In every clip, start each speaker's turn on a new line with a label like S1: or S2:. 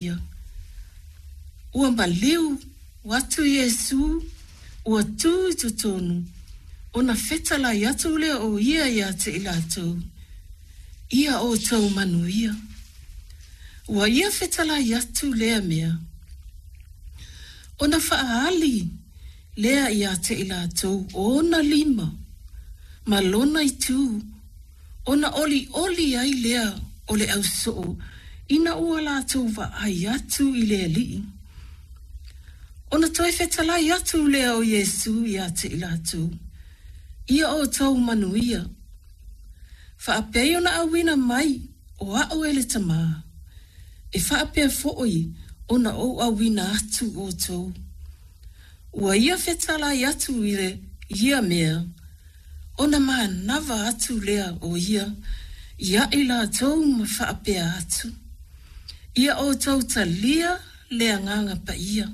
S1: Ia. Ua maliu atu Iesū, ua tū i totonu, ona fetalai atu lea o ia ia te i latou, Ia outou manuia. Ua ia fetalai atu lea mea, ona faaali lea ia te i latou ona lima ma lona itu, Ona ʻoliʻoli ai lea o le ausoo ina ua latou vaai atu i le Alii. Ona toe fetalai atu lea o Iesū ia te i latou, Ia outou manuia. Faapei ona auina mai o aʻu e le Tamā, e faapea foʻi ona ou auina atu outou. Ua ia fetalai atu i ia mea, Ona manava atu lea o ia ia i latou ma faapea atu, Ia outou talia le Agaga Paia.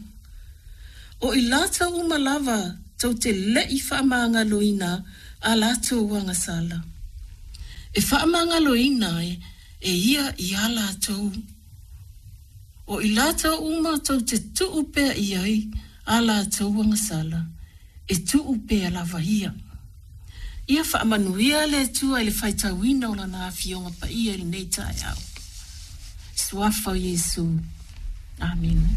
S1: O i latou uma lava tou te leʻi faamagaloina a latou agasala, e faamagaloina e ia iā latou. O i latou uma tou te tuu pea i ai a latou agasala, e tuu pea lava ia. Ia faamanuia le Atua i le faitauina o Lana Afioga Paia i lenei taeao. Suafa o Iesu. Amene.